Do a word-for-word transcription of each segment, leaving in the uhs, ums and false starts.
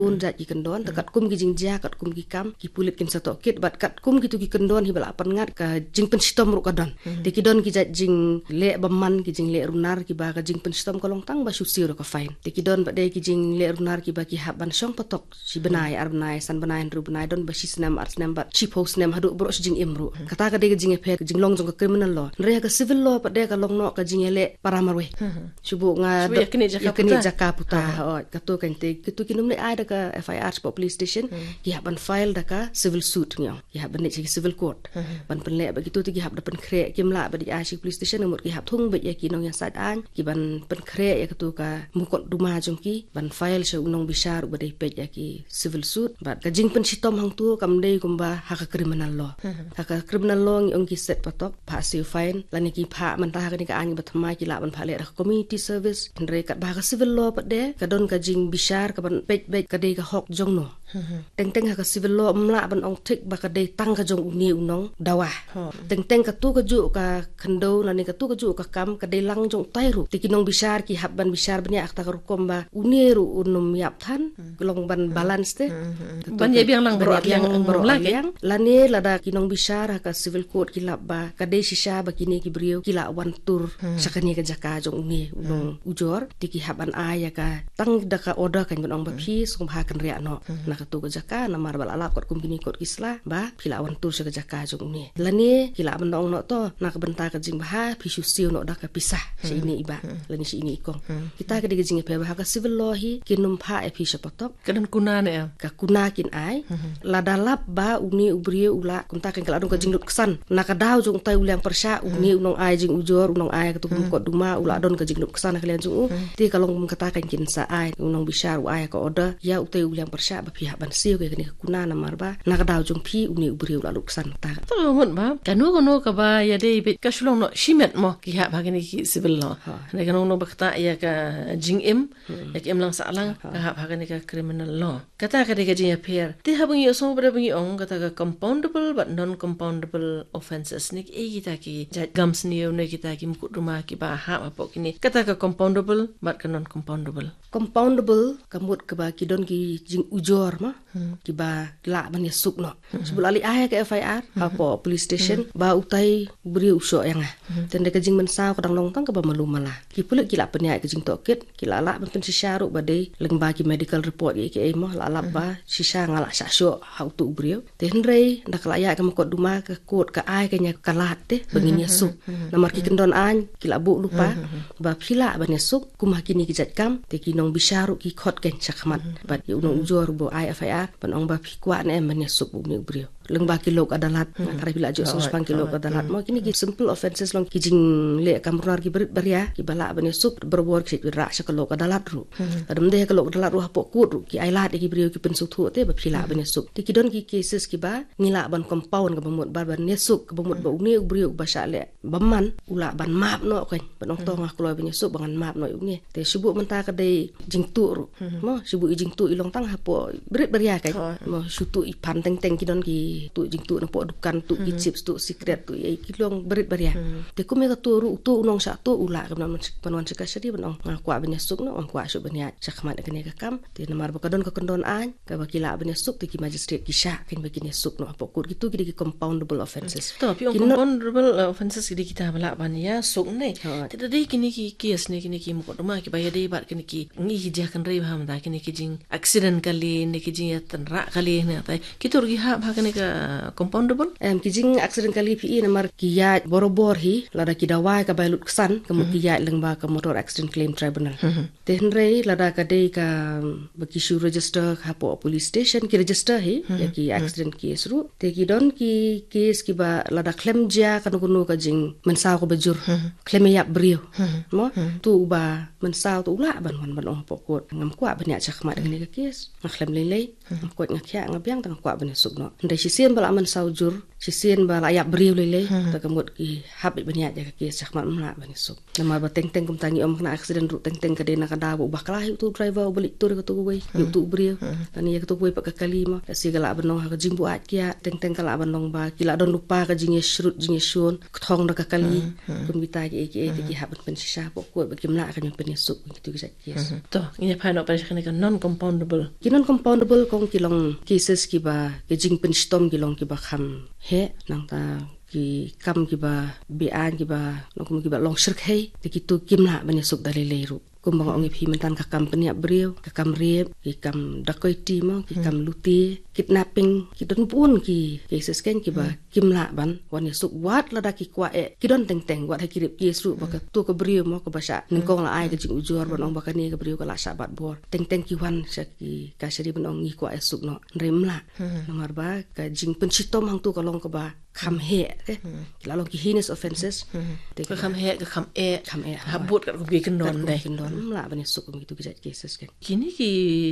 Un jait ki kyndon, te katkum ki jingjia, katkum ki kam, ki pulit kin sa tohkit, bad katkum kitu ki kyndon hi ba la pynngat ka jingpynshitom ruh ka don. Te ki don ki jait jingleh bymman, ki jingleh runar, ki ba ka jingpynshitom ka long tang ba shu siew da ka fine. Te ki don pat de ki jingleh runar ki ba ki hap ban shong patok, shi bnai, ar bnai, san bnai, hynriew bnai, don ba shi snem, ar snem, bad shiphew snem, haduh baroh shi jingim ruh. Kata ka dei ka jingïapher, ka jinglong jong ka criminal law. Hynrei ha ka civil law pat de ka long noh ka jingïaleh para marwei. Shu buh nga ïa kane jaka puta. Oi, kato kan te, kitu ki nongmlei ai da ka F I R shapoh police station, ki hap ban file da ka civil suit ngi ong. Ki hap ban leit sha ki civil court. Ban pynleh ba kitu te ki hap da pynkhreh, kim lah ba dei ai sha ki police station, namut ki hap thung beit ïa ki nongïasaid aiñ, ki ban pynkhreh ïa katu ka mukotduma jong ki, ban file sha u nongbishar uba dei peit ïa ki civil suit. Bad ka jingpynshitom hangtu kam dei kumba ha ka criminal law. Ha ka criminal law ngi ong ki set patok, phah siew fine, lane ki phah mynta ha kane ka aiñ ba thymmai ki lah ban phah leh da ka community service. Hynrei katba ha ka civil law pat de, ka don ka jingbishar ka ban peit beit ka dei ka hok jong no. Teng teng ha ka civil law ym lah ban ong thik ba ka dei tang ka jong une u nongdawa. Teng teng katu kajuh ka khyndew lane katu kajuh ka kam ka dei lang jong utai ruh. Te ki nongbishar ki hap ban bishar bniah ha kata ka rukom ba une ruh un ym ïap than, long ban balance te. Ban ïa biang lang baroh arliang, lane lada ki nongbishar ha ka civil court ki lap ba ka dei shisha ba kine ki briew ki lah wan tur sha kane ka jaka jong une u nongujor, te ki hap ban ai ïa ka tang da ka order kan ban ong ba phi sngewbha kynriah noh na katu ka jaka, namar ba la lap katkum kine kot ki sla ba phi lah wan tur sha ka jaka jong une. Lane ki lah ban ong noh to, na ka bynta ka jingbha phi shu siew noh da ka pisa sha ine i bah lane sha ine i kong. Kita ka dei ka jingïapher ba ha ka civil law hi kin ym phah ïa phi sha patok. Ka don kuna ne em? Ka kuna kin ai. Lada lap ba une u briew u lah, kumta kan ka la don ka jinglut ksan na ka daw jong utai u liang pyrshah, une u nongai jingujor, u nongai katu ka mukotduma, u la don ka jinglut ksan ha ka liang jong u. Te ka long kum kata kan kin sa ai, u nongbishar u ai ka order ïa utai u liang pyrshah ba phi hap ban siew ïa kane ka kuna, namar ba na ka daw jong phi une u briew u la lut ksan. Ta to mut ba kano kano kaba ïadei beit ka shu long noh shimet mo ki hap ha kane ki civil law. Hynrei kano kano ba kata ïa ka jingim, ïa ka imlang sahlang ka hap ha kane ka criminal law. Kata ka dei ka jingïapher. Te haba ngi ïohsngew ba ngi ong kata ka compoundable bad non-compoundable offences, ne kiei kita ki jait kam sniew ne kita ki mukotduma kiba hap hapoh kine, kata ka compoundable bad ka non-compoundable? Compoundable ka mut kaba ki don ki jingujor ma, kiba lah ban ïasuk noh. Shu buh la leit ai ha ka F I R hapoh police station ba utai u briew u shoh ïa nga. Te hynrei ka jingmynsaw ka dang long tang kaba malu mala. Ki pulit ki lah pynïaid ka jingtohkit, ki lah lah ban pynshisha ruh ba dei lyngba ki medical report kiei kiei mo, lah lap ba shisha nga lah shah shoh ha utu u briew. Te hynrei da ka lah ïaid ka mukotduma ka kot ka ai ka nia ka lad te ba ngin ïasuk. Namar ki kyndon aiñ ki lah buh lypa ba phi lah ban ïasuk kum ha kine ki jait kam, te ki nongbishar ruh ki khot kan sha khmat. Bad ïa u nongujor ba ai F I R ban ong ba phi kwah ne em ban ïasuk ba une u briew. Lyngba ki lok adalat, nga tharai phi la ju sngewsih shaphang ki lok adalat mo, kine ki simple offences long, ki jingleh kam runar ki barit baria kiba lah ban ïasuk, barabor ki shait rah sha ka lok adalat ruh. Lada ym dei ha ka lok adalat ruh, hapoh kot ruh ki ailad ïa ki briew, ki pynsngewthuh te ba phi lah ban ïasuk. Te ki don ki cases kiba ngi lah ban compound, kaba mut ba ban ïasuk, kaba mut ba une u briew ba shah leh bymman u lah ban map noh, kan ban ong to nga kloi ban ïasuk ba ngan map noh ïa une. Te shu buh mynta ka dei jingtuh ruh. Mo, shu buh i jingtuh i long tang hapoh barit baria, kan. Mo, shu tuh i phan teng teng, ki don ki tuh jingtuh napoh dukan, tuh ki chips, tuh sikret, tuh i, ki long barit baria. Te kum ïa ka tuh ruh, u tuh u nongshah tuh u lah ka ban wan sha ka shari ban ong nga kwah ban ïasuk noh, nga kwah shuh ban ïaid sha khmat ïa kane ka kam. Te namar ba ka don ka kyndon aiñ kaba ki lah ban ïasuk, te ki magistrate ki shah kan ba kin ïasuk noh hapoh kot. Kitu ki dei ki compoundable offences. To phi ong compoundable offences ki dei kita ba lah ban ïasuk ne. Te da dei kine ki case ne kine ki mukotduma kiba ïadei bad kine ki, ngi hi jia kynrei ba mynta kine ki jing accident kali ne ki jingïatynrah kali ne, tai kitu ruh ki hap ha kane ka compoundable? Em, ki jing accident kali phi i namar ki ïaid barabor hi, lada ki dawai ka bai lut ksan, ka mut ki ïaid lyngba ka Motor Accident Claim Tribunal. Te hynrei lada ka dei kaba ki shu register hapoh police station, ki register hi ïa ki accident case ruh. Te ki don ki case kiba lada khlem jia kano kano ka jingmynsaw kaba jur, khlem ïap briew, mo, tu uba mynsaw tu u lah ban wan ban ong hapoh kot, ngam kwah ban ïaid sha khmat ïa kane ka case, nga khlem lei lei, nga koit nga khiah, nga biang, te nga kwah ban ïasuk noh. Hynrei shi Sien ba la man saw jur, shisien ba la ïap briew lei lei, ta ka mut ki hap beit ban ïaid ïa ka case shakhmat, ym lah ban ïasuk. Namar ba teng teng kumta ngi ong kane accident ruh teng teng ka dei na ka daw ba u bakla hi utu u driver uba leit tur ïa katu kawei, ïa utu u briew. Lane ïa katu kawei pat ka kali mo, ka shi ka lah ban long ha ka jingbuaid kiad, teng teng ka lah ban long ba ki la don lypa ka jingïashrut jingïashun, kthong da ka kali, kum kita kiei kiei, te ki hap ban pynshisha hapoh court ba kim lah kan ïoh pynïasuk kitu ki jait case. To, ngin ïa phai noh pat sha kane ka non compoundable. Ki non compoundable kong ki long cases kiba, ki jingpynshitom ki long kiba kham heh, nangta ki kam kiba be-aiñ kiba, nongkum kiba long shyrkhei, te kitu kim lah ban ïasuk da lei lei ruh. Kumba nga ong ïa phi mynta, ka kam pynïap briew, ka kam rape, ki kam dacoity mo, ki kam lute, kidnapping, ki don bun ki cases keiñ kiba kim lah ban wan ïasuk wat lada ki kwah eh, ki don teng teng, wat ha ki rape case ruh ba katu ka briew mo kaba shah nyngkong la ai ka jingujor ban ong ba kane ka briew ka la shah bat bor. Teng teng ki wan sha ki kashari ban ong ngi kwah ïasuk noh. Hynrei ym lah. Namar ba ka jingpynshitom hangtu ka long kaba kham heh, eh. Ki la long ki heinous offences. Te ka kham heh, ka kham eh. Kham eh, ha bud katkum ki kyndon dei. Ym lah ban ïasuk kum kitu ki jait cases keiñ. Kine ki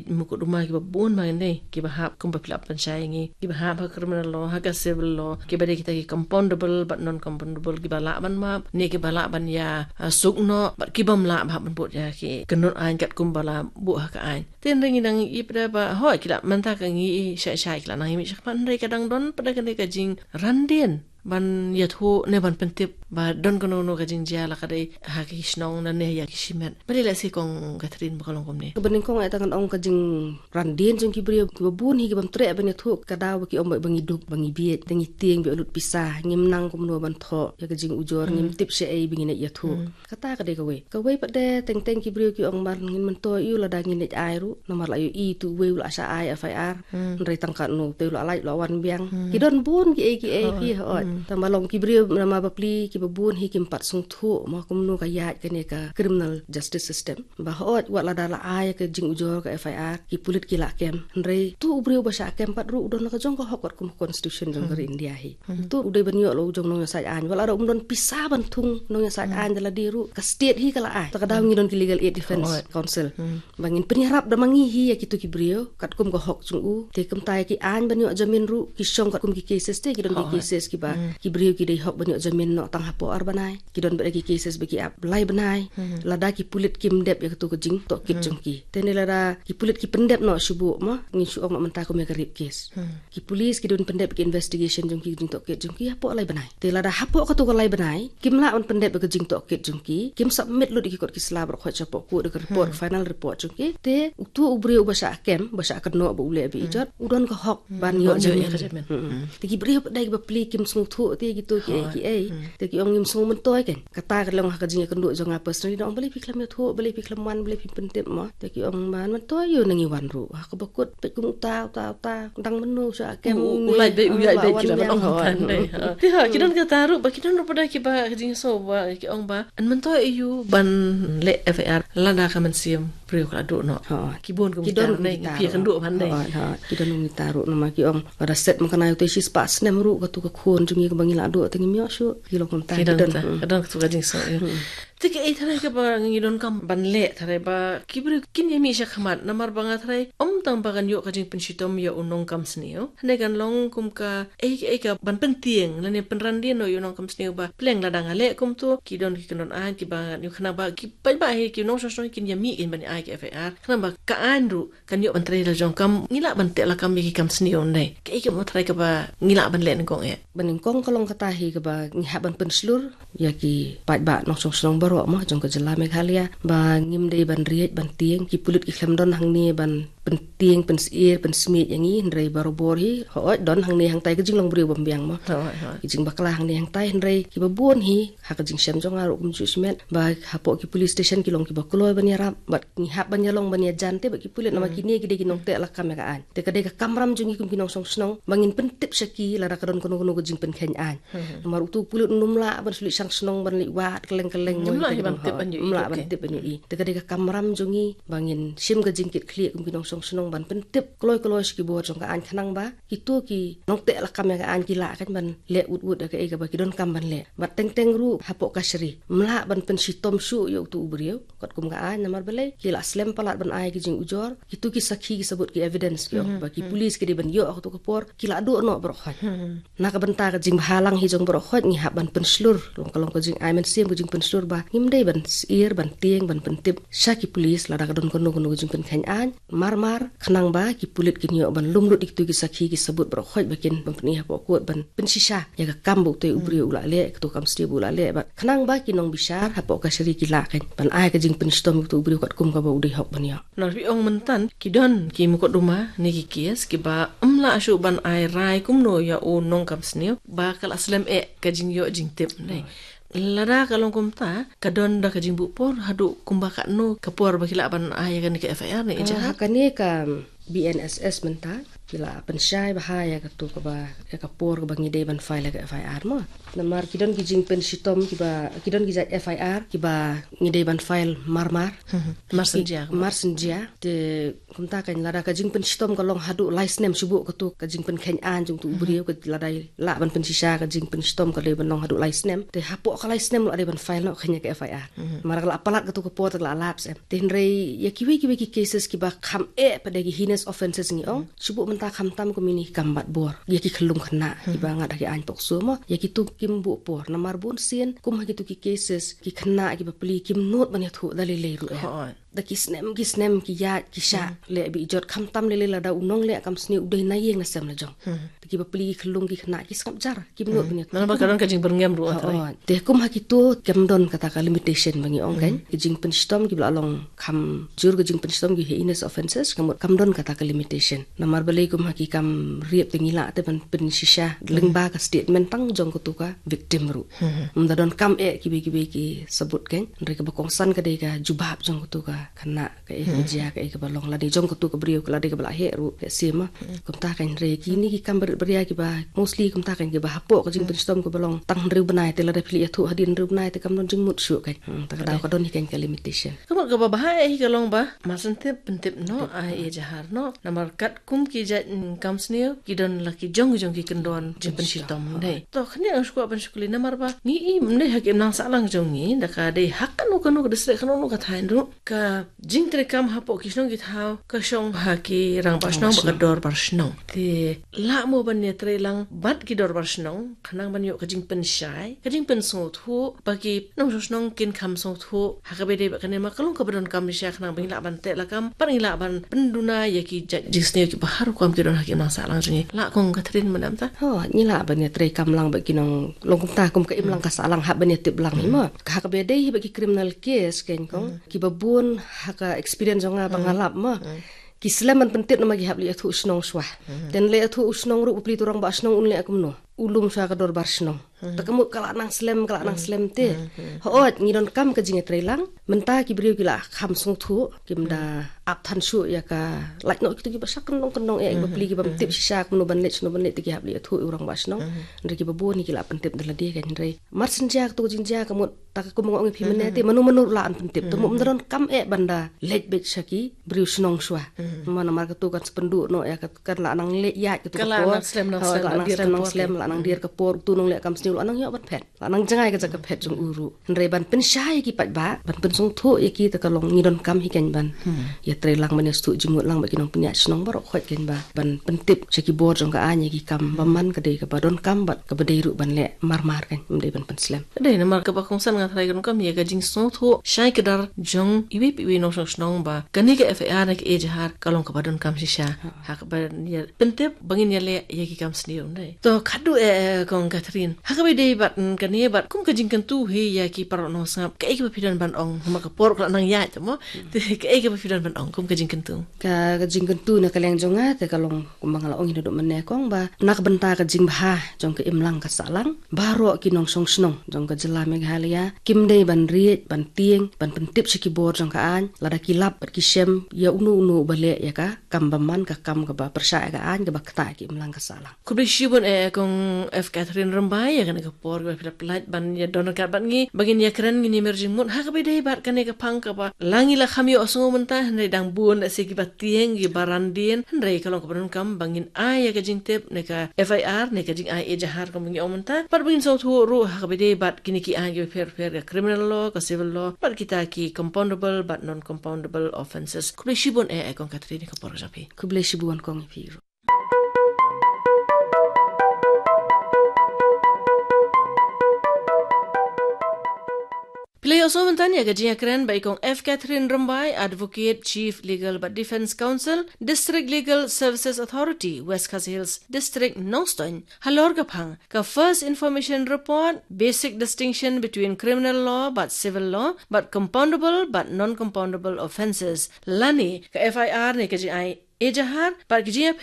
mukotduma kiba bun ma ngi dei, kiba hap kumba phi la pynshai ngi, kiba hap ha criminal law, ha ka civil law, kiba dei kita ki compoundable bad non compoundable, kiba lah ban map ne kiba lah ban ïa, ah, suk noh, bad kibym lah ba hap ban bud ïa ki kyndon aiñ katkum ba la buh ha ka aiñ. Te hynrei ngi dang ïohi pat ba hooid ki la, mynta ka ngi ïohi shai shai ki la nang ïa mih shakhmat, hynrei ka dang don pat kane ka jingran dien ban ïathuh ne ban pyntip ba don kano kano ka jingjia, la ka dei ha ki shnong ne ïa ki shimet. Balei lehse kong Catherine ba ka long kumne? Kaba nyngkong eh, tang ngan ong ka jingran dien jong ki briew kiba bun hi kibym treh ban ïathuh, ka daw ba ki ong ba ngi duk, ba ngi bieit, te ngi tieng ba lut pisa, ngim nang kumno ban thoh ïa ka jingujor, ngim tip shaei ba ngin ïathuh. Kata ka dei kawei. Kawei pat de teng teng ki briew ki ong ba ngin myntoi ïa u lada ngin leit ai ruh. Namar la ïohi tu uwei u la shah ai F I R. Hynrei tang katno te u la lait, u la wan biang. Ki don bun kiei kiei ki, hooid. Tang ba long ki briew namar ba pli kiba bun hi kim pat sngewthuh mo kumno ka ïaid kane ka criminal justice system. Ba hooid wat lada la ai ka jingujor ka F I R, ki pulit ki la kem. Hynrei tu u briew ba shah kem pat ruh u don la ka jong ka hok katkum ka constitution jong ka ri India hi. Tu u dei ban ïoh la u jong nongïasaid aiñ. Wat lada um don pisa ban thung nongïasaid aiñ da lade ruh, ka state hi ka la ai. Ta ka daw ngi don ki Legal Aid Defense Council. Ba ngin pynïarap da ma ngi hi ïa kitu ki briew katkum ka hok jong u. Te kumta ïa ki aiñ ban ïoh jamin ruh, ki shong katkum ki cases te ki don ki cases kiba ki briew ki dei hok ban ïoh jamin noh tang hapoh ar bnai. Ki don bad ki cases ba ki ap lai bnai. Lada ki pulit kim dep ïa katu ka jingtohkit jong ki. Te ne lada ki pulit ki pyndep noh shu buh mo, ngin shu ong noh mynta kum ïa ka rape case. Ki police ki don pyndep ki investigation jong ki, jingtohkit jong ki hapoh lai bnai. Te lada hapoh katu ka lai bnai kim lah ban pyndep ïa ka jingtohkit jong ki, kim submit lut ïa ki kot ki sla baroh khoit shapoh court da ka report, final report jong ki. Te utu u briew uba shah kem, ba shah kynnoh ba u leh ba ijot, u don ka hok ban ïoh jamin. Te ki briew pat de kiba pli kim sngewthuh te kitu kiei kiei. Te ki ong ngim sngewmyntoi keiñ. Kata ka long ha ka jingïakynduh jong nga personally, da ong balei phi khlem ïathuh, balei phi khlem wan, balei phi pyntip mo. Te ki ong ba myntoi ïa u, nang ïa wan ruh. Ha kaba kut peit kum uta uta uta, dang mynno sha kem u, u lait beit, u lait beit, ki la ban ong tang dei. Te ha ki don kata ruh ba ki don ruh pat de kiba ka jingso ba ki ong ba yn myntoi ïa u ban leh F I R lada ka mynsiem briew ka la duh noh. Ki bun kum kita ruh, phi ïakynduh ban dei. Ki don kum kita ruh namar ki ong lada set ma kane u te shispah snem ruh katu ka khun jong ngi kaba ngi la duh te ngim ïoh shuh. Ki long kumta, ki don, ka don katu ka jingso. Te kaei tharai kaba ngi donkam ban leh tharai ba ki briew kin ïa mih shakhmat, namar ba nga tharai ym tang ba kan ïoh ka jingpynshitom ïa u nongkam sniew, hynrei kan long kum kaei kaei ka ban pyntieng lane pynran dien noh ïa u nongkam sniew ba pleng lada nga leh kumto ki don ki kyndon aiñ kiba ngan ïoh, khnang ba ki paidbah hi, ki nongshong shnong kin ïa mih kin ban ai ki F I R, khnang ba ka aiñ ruh kan ïoh ban trei la jong kam, ngi lah ban teh lakam ïa ki kam sniew ne. Kaei kaba tharai kaba ngi lah ban leh nyngkong eh? Ba nyngkong ka long kata hi kaba ngi hap ban pynshlur ïa ki paidbah nongshong shnong baroh mo jong ka jylla Meghalaya ba ngim dei ban riej ban tieng, ki pulit ki khlem don hangne ban pyntieng, pynsyier, pynsmiej ïa ngi, hynrei barabor hi hooid don hangne hangtai ka jinglong briew bym biang mo. Ki jingbakla hangne hangtai, hynrei kiba bun hi ha ka jingshem jong nga ruh kumjuh shimet ba hapoh ki police station ki long kiba kloi ban ïarap bad ngi hap ban ïalong ban ïajan te bad ki pulit namar kine ki dei ki nongteh lakam ïa ka aiñ. Te ka dei ka kamram jong ngi kum ki nongshong shnong ba ngin pyntip sha ki lada ka don kano kano ka jingpynkheiñ aiñ. Namar utu u pulit um lah ban shu leit shang shnong ban leit wad kylleng kylleng, um lah ban tip ban ïohi. Te ka dei ka kamram jong ngi ba ngin shim ka jingkitkhlieh kum ki nongshong shnong ban pyntip kloi kloi sha ki bor jong ka aiñ khnang ba kito ki nongteh lakam ïa ka aiñ ki lah kan ban leh ut ut ïa kaei kaba ki donkam ban leh. Bad teng teng ruh hapoh kashari ym lah ban pynshitom shuh ïa utu u briew katkum ka aiñ, namar balei ki la slem palat ban ai ki jingujor, kito ki sakhi ki sabut ki evidence ki ong ba ki pulis ki dei ban ïoh ha kato ka por, ki la duh noh baroh khoit. Na ka bynta ka jingbhalang hi jong baroh khoit ngi hap ban pynshlur, long ka long ka jingai mynsiem ka jingpynshlur ba ngim dei ban syier ban tieng ban pyntip sha ki pulis lada ka don kano kano ka jingpynkheiñ aiñ marmar, khnang ba ki pulit kin ïoh ban lum lut ïa kito ki sakhi ki sabut baroh khoit ba kin ban pyni hapoh kot ban pynshisha ïa ka kam ba utei u briew u la leh, kato ka kam sniew ba u la leh, bad khnang ba ki nongbishar hapoh kashari ki lah kan ban ai ka jingpynshitom ïa uto u briew katkum kaba u dei hok ban ïoh. Namar phi ong mynta ki don ki mukotduma ne ki kes kiba ym lah shuh ban ai rai kumno ïa u nongkam sniew ba ka la slem eh ka jingïoh jingtip ne. Lada ka long kumta, ka don da ka jingbuh por haduh kumba katno ka por ba ki lah ban ai ïa kane ka F I R ne, eh, ejahar? Ha kane ka B N S S mynta ki la pynshai bha ïa kato kaba, ïa ka por kaba ngi dei ban file ïa ka F I R mo. Namar ki don ki jingpynshitom kiba, ki don ki jait F I R kiba ngi dei ban file marmar. Mar synjia. Mar synjia. Te kumta kan lada ka jingpynshitom ka long haduh lai snem shuh kato ka jingpynkheiñ aiñ jong uto u briew, ka lada lah ban pynshisha ka jingpynshitom ka dei ban long haduh lai snem. Te hapoh ka lai snem la dei ban file noh kan ïa ka F I R. Mar ka la palat kato ka por te ka la lapse em. Te hynrei ïa kiwei kiwei ki cases kiba kham eh pat da ki heinous offences ngi ong, shuh mynta khamtam kum ine i kam bat bor ïa ki khyllung khynnah kiba ngat ha ki aiñ pokso mo, ïa kito kim buh por. Namar bun sien kum ha kito ki cases ki khynnah kiba pli kim nud ban ïathuh da lei lei ruh eh. Da ki snem ki snem ki ïaid ki shah leh bit jot, khamtam lei lei lada u nongleh kam sniew u dei na ïing na sem la jong. Te kiba pli ki khyllung ki khynnah ki sngap jar, kim nud ban ïathuh. Namar ba ka don ka jingbyrngem ruh. Te kum ha kito kam don kata ka limitation ba ngi ong kan, ki jingpynshitom kiba la long kham jur, ka jingpynshitom ki heinous offences, ka mut kam don kata ka limitation. Namar balei kum ha ki kam rape te ngi lah te ban pynshisha lyngba ka statement tang jong kato ka victim ruh. Ym da donkam eh kiwei kiwei ki sabut kan. Hynrei kaba kongsan ka dei ka jubab jong kato ka khynnah, kaei ka jia, kaei kaba long lane jong kato ka briew, ka lane kaba la heh ruh ka sima. Kumta kan hynrei kine ki kam barit baria kiba mostly kumta kan kiba hapoh ka jingpynshitom kaba long tang hynriew bnai, te lada phi ïathuh hadien hynriew bnai te kam don jingmut shuh kan. Hmm, ta ka daw ka don hi kan ka limitation. Ka mut kaba bha eh hi ka long ba mar syn tip pyntip noh, ai ejahar noh. Namar katkum ki jait, mm, kam sniew ki don la ki jong ki jong ki kyndon jingpynshitom dei. To khyndiat nga shu kwah ban shu kylli namar ba ngi i mynne ha ka imlang sahlang jong ngi da ka dei ha kano kano ka district, kano kano ka thaiñ ruh, ka jingtreikam hapoh ki shnong ki thaw ka shong ha ki rangbah shnong bad ka dorbar shnong. Te lah mo ban ïatreilang bad ki dorbar shnong khnang ban ïoh ka jingpynshai, ka jingpynsngewthuh ba ki nongshong shnong kin kham sngewthuh ha kaba dei bad kane, ma ka long kaba donkam shisha khnang ba ngi lah ban teh lakam bad ngi lah ban pynduna ïa ki jait jingsniew kiba har rukom ki don ha ka imlang sahlang jong ngi. Lah kong Catherine mynta? Ho, ngi lah ban ïatreikam lang bad ki nong, long kumta kum ka imlang ka sahlang hap ban ïatip lang hi mo. Ka ha kaba dei hi bad ki criminal case kan kong, kiba bun ha ka experience jong nga ba nga lap mo, ki slem ban pyntip namar ki hap leit ïathuh shnong shuwa. Te leit ïathuh u shnong ruh ba pli uto u rangbah shnong un leh kumno, u lum shuwa ka dorbar shnong. Ta ka mut ka la nang slem, ka la nang slem te. Hooid ngi donkam ka jingïatreilang. Mynta ki briew ki la kham sngewthuh, kim da ap than shuh ïa ka lait noh kito kiba shah kyndong kyndong eh, kiba pli kiba ym tip shisha kumno ban leit shano ban leit, te ki hap leit ïathuh u rangbah shnong. Hynrei kiba bun hi ki la pyntip da lade kan hynrei mar syn jia kato ka jingjia ka mut ta ka kum nga ong ïa phi mynne te mano mano ruh lah ban pyntip. Ta mut ym da donkam eh ban da leit beit sha ki briew shnong shuwa. Namar kato kan sa pynduh noh ïa ka, kan lah nang leit ïaid kato ka por. Ka lah nang slem nang slem, lah nang dier ka por, uto u nongleh kam sniew lah nang ïoh ban phet. Lah nang jngai ka jaka phet jong u ruh. Hynrei ban pynshai ïa ki paidbah, ban pynsngewthuh ïa ki ta ka long ngi donkam hi kan ban ïatreilang ban ïasngewthuh jingmut lang bad ki nongpynïaid shnong baroh khoit kan ba ban pyntip sha ki bor jong ka aiñ ïa ki kam bymman ka dei kaba donkam bad kaba dei ruh ban leh marmar kan, ym dei ban pynslem. Ka dei namar kaba kongsan nga tharai ka donkam ïa ka jingsngewthuh shai kdar jong iwei pa iwei nongshong shnong ba kane ka F I R ne ka ejahar ka long kaba donkam shisha. Ha kaba ïa pyntip ba ngin ïaleh ïa ki kam sniew, ym dei? To khadduh eh, eh, kong Catherine, ha kaba dei bad, mm, kane bad kum ka jingkyntu hi ïa ki paralok nongsngap, kaei kaba phi don ban ong, namar ka por ka la nang ïaid mo. Te kaei kaba phi don ban ong kum ka jingkyntu? Ka, ka jingkyntu na ka liang jong nga te ka long kumba nga la ong hi naduh mynne kong ba na ka bynta ka jingbha jong ka imlang ka sahlang, baroh ki nongshong shnong jong ka jylla Meghalaya kim dei ban riej ban tieng ban pyntip sha ki bor jong ka aiñ lada ki lap bad ki shem ïa uno uno uba leh ïa ka kam bymman, ka kam kaba pyrshah ïa ka aiñ, kaba ktah ïa ka imlang ka sahlang. Khublei shibun eh, eh, kong F Catherine Rymbai ïa Kane ka por kaba phi la pynlait ban ïa don ryngkat bad ngi, ba ngin ïa kren, ngin ïa mar jingmut ha kaba ïadei bad kane ka phang kaba la ngi la kham ïohsngew mynta, hynrei dang bun lehse kiba tieng, kiba randien, hynrei ka long kaba donkam ba ngin ai ïa ka jingtip ne ka F I R ne ka jingai ejahar kumba ngi ong mynta, bad ba ngin sngewthuh ruh ha kaba ïadei bad kine ki aiñ kiba pher pher, ka criminal law, ka civil law, bad kita ki compoundable bad non-compoundable offences. Khublei shibun eh, eh, Kong Catherine, ka por ka jong phi. Khublei shibun Kong, ïa phi ruh. Phi la ïohsngew mynta ïa ka jingïakren bad i Kong F Catherine Rymbai, Advocate, Chief Legal bad Defence Counsel, District Legal Services Authority, West Khasi Hills District, Nongstoiñ, halor ka phang ka First Information Report, Basic Distinction Between Criminal Law bad Civil Law, bad Compoundable bad Non-Compoundable Offences, lane ka F I R ne ka jingai ejahar, bad ka jingïapher